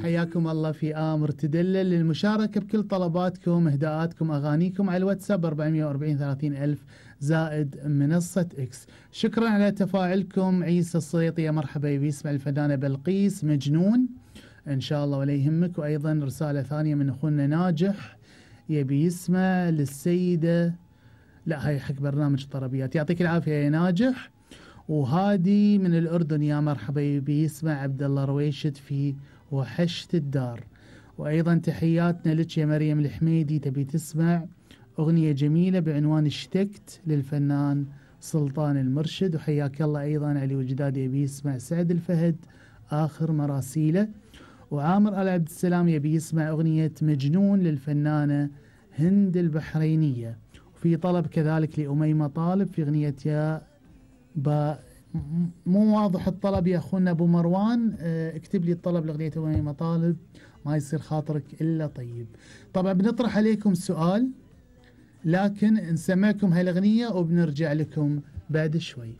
حياكم الله في آمر تدلل للمشاركة بكل طلباتكم إهداءاتكم أغانيكم على الواتساب 440 30 ألف زائد منصة إكس. شكرا على تفاعلكم. عيسى الصيطي يا مرحبا يبي يسمع الفنانة بلقيس مجنون إن شاء الله ولا يهمك. وأيضا رسالة ثانية من أخونا ناجح يبي يسمع للسيدة، لا هاي حق برنامج طربيات. يعطيك العافية يا ناجح. وهادي من الأردن يا مرحبا يبي يسمع عبد الله رويشد في وحشت الدار. وأيضا تحياتنا لك يا مريم الحميدي تبي تسمع أغنية جميلة بعنوان اشتقت للفنان سلطان المرشد. وحياك الله أيضا علي وجداد يبي يسمع سعد الفهد آخر مراسيله. وعامر آل عبد السلام يبي يسمع أغنية مجنون للفنانة هند البحرينية. وفي طلب كذلك لأميمة طالب في أغنية يا مو واضح الطلب يا أخونا أبو مروان، اكتب لي الطلب لأغنية أميمة طالب ما يصير خاطرك إلا طيب. طبعا بنطرح عليكم سؤال لكن نسمعكم هاي الأغنية وبنرجع لكم بعد شوي.